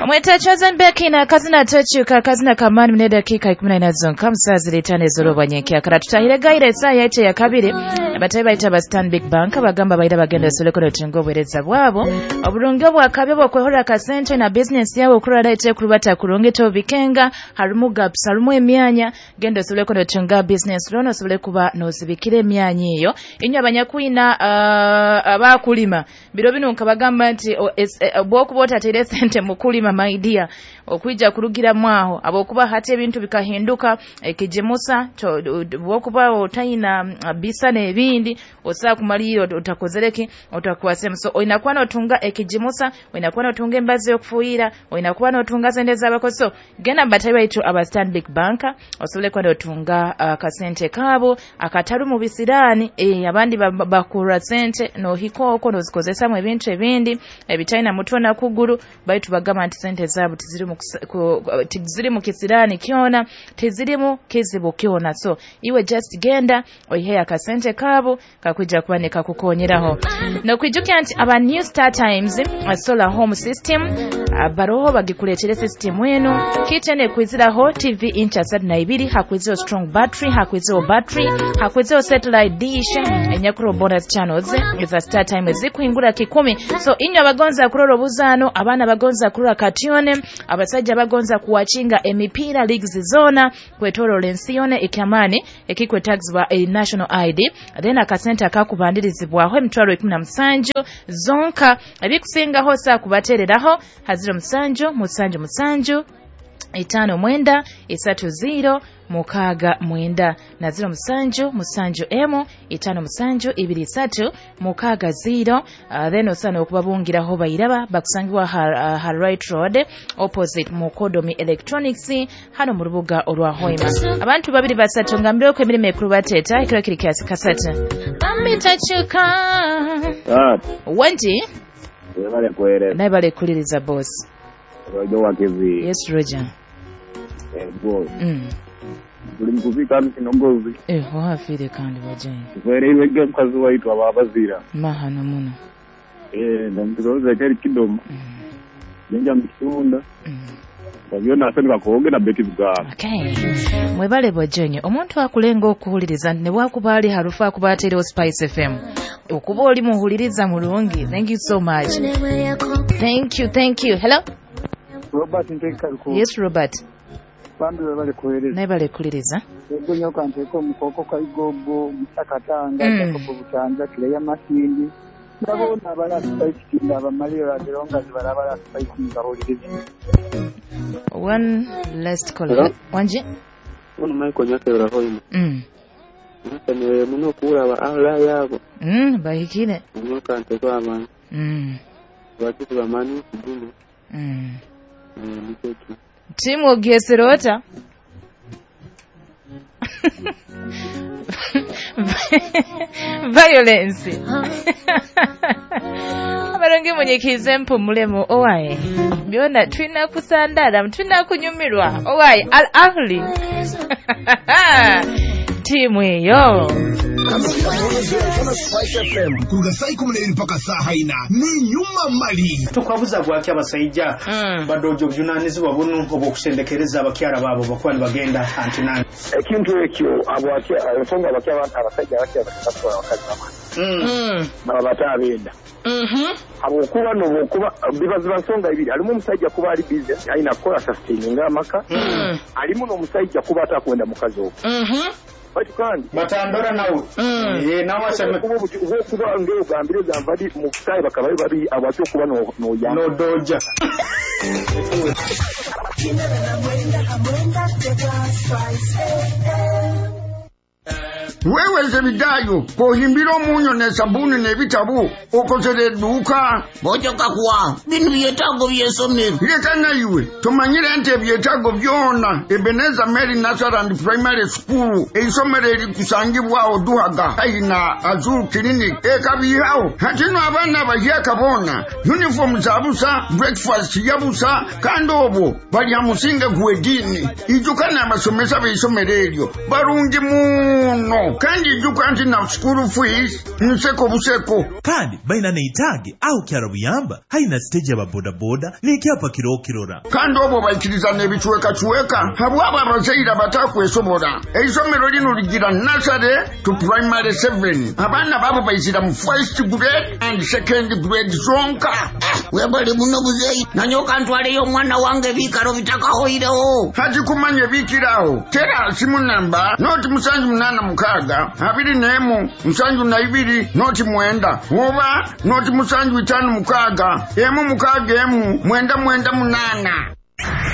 Omwetachoze mbeki na kazina techuka kazina kamani mne dakika 14 zonka musazi letane zoroba nyenkya kara tutahire gaire esaa yaite ya kabiri abatayi baita ba Stanbic Bank bagamba baira bagenda soleko rutengo bwereza bwabo oburungi obwakabe bwokwehora kasente na business yawe okurara ite kurubata kurungi to bikenga harumu gaps harumu emyanya genda soleko rutenga business loan osobole kuba nozibikira emyanya eyo inyo abanyakwina abakulima biro bino nkabagamba nti bwokuba otateire sente mukulima my dear okwija kurugira mwaho abokuba hati ebintu bikahinduka ekijimusa bwokuba otayina bisa n'ebindi osaa kumalira otakozereki otakwasemu so oyina kuba n'otunga ekijimusa oyina kuba n'otunga embazi y'okufuuyira oyina kuba n'otunga sente z'abakozi so genda mu batayi baitu aba Stanbic Bank osobole kuba n'otunga akasente kaabo akatali mu bisiraani abandi bakura sente n'ohika okwo n'ozikozesamu ebintu ebindi ebitalina mutwe na kuguru baitu bagamba nti sente zaabo tiziri mu kisiraani kyona tizirimu kizibu kyona so iwe just genda oihe akasente kaabo kakwija kuba nekakukonyeraho nokwijukira nti aba New Star Times solar home system baroho bagikuletere system eno kitene kwiziraho TV inch 32 hakwiziraho strong battery hakwiziraho battery hakwiziraho satellite dish enyakuro bonus channels eza Star Times zikuhingura 10 so inyo abagonza kurora obuzano abaana bagonza kurora katione abasajja bagonza kuwachinga emipiira leagues zona kwetorola ensi yona ekyamaani ekikwetagizibwa a national ID then akasente akakubandirizibwaho emitwaro 17 zonka ebikusingaho saa kubatereraho 07 7 7 5 9 3 0 6 9 na 07 7 M 5 7 2 3 6 0 then osana okubabungiraho bayiraba bakusangibwa ha Right Road opposite Mukodomi Electronics hano mu rubuga olwa Hoima abantu babiri basatu ngambire ko emirimo ekuru bateta ekiro kiri kiasi kasata bamitachuka wanji bale kwere naye bale kuliriza boss Roger wakizi. Yes Roger. Boss. Tuli mukufika kinogozi. Wafire kandi wajeni. Tufereirwe mukazi waitu ababazira. Mahano muno. Ndamtuzoza keri kidomo. Njenja mukitunda. Babyona ate bakoge na beti bugaba. Okay. Mwebale bwajenye omuntu akulenga okuwuliriza ne bwakuba ali harufu akuba ateerewo Spice FM. Okuba oli muwuliriza mulungi. Thank you so much. Thank you, thank you. Hello? Robert Nteekaliko. Yes Robert. Bambi webale kuweereza. Naye bale kuliriza. Ego nyoka nteeka omukooko Kaigogo, Musakatanga, Jacob Butanja, Kireya Masindi. Ndabona abala Spice King abamaliro bagero nga zibalabala Spice King bawuliriza. One last call. Wanji? Ono Michael Nyakero Hoima. Nsemerere muno okulaba ala yabo. Bahikire. Nyoka nteeka abantu. Bakizi bamanyi kuguno. Timu ogyesera ota? Violence. Abalongi munyikize mpumulemu owaye. Byonna tulina kusandala, tulina kunyumirwa. Owaye Al Ahly. Timu eyo. Spice FM kuruga saa 12 mpaka saa 4 ni nyuma mali tukwabuza bwaki abasajja badojo obuvunanyizibwa buno obw'okusendekereza abakyala baabo bakuba nibagenda antinani ekintu ekyo ensonga abasajja abakyala batwala abakazi bamwe baba batabenda habwokuba nobwokuba bibaziba nsonga ibiri alimu omusajja kuba ali busy alina kukola sustaininga amaka alimu n'omusajja kuba atakwenda mukazi ogwo bati kandi batandora nawe nawe kuba ng'ogambire gamba ndi mu butayi bakaba bari abatyo kuba noyamba nodoja Wewe Zebidayo kohimbira omunyo ne sabuni n'ebitabo okozere edduuka bojoka kuwa bino byetaago by'essomero leka naiwe tomanyire nti ebyetaago byona Ebenezer Mary Nursery Primary School eisomero erikusangibwawo Duhaga haihi na Azul Clinic ekabihawo hatino abaana abahyaka boona uniform za busa breakfast ya busa kandi obwo balya musinge gw'eddiini ijuka n'abasomesa b'eisomero eryo barungi muno Muno kandi ijuka nti na school fees nseko buseko. Kandi baina neitaage aho Kyarabuyamba haina stage aba bodaboda n'ekyapa kirokirora. Kandi obwo baikiriza n'ebicwekacweka habwabo abazaire abatakwesobora. Eisomero lino ligira nursery to primary 7. Abaana babo baizira mu first grade and second grade zonka. Webale muno muzeeyi, nanyoka ntwaleyo omwana wange ebiikaro bitakahoireho. Hati kumanya ebikiraho tera simu namba 076 21 72 09 oba 0756 1 6 1 9 98.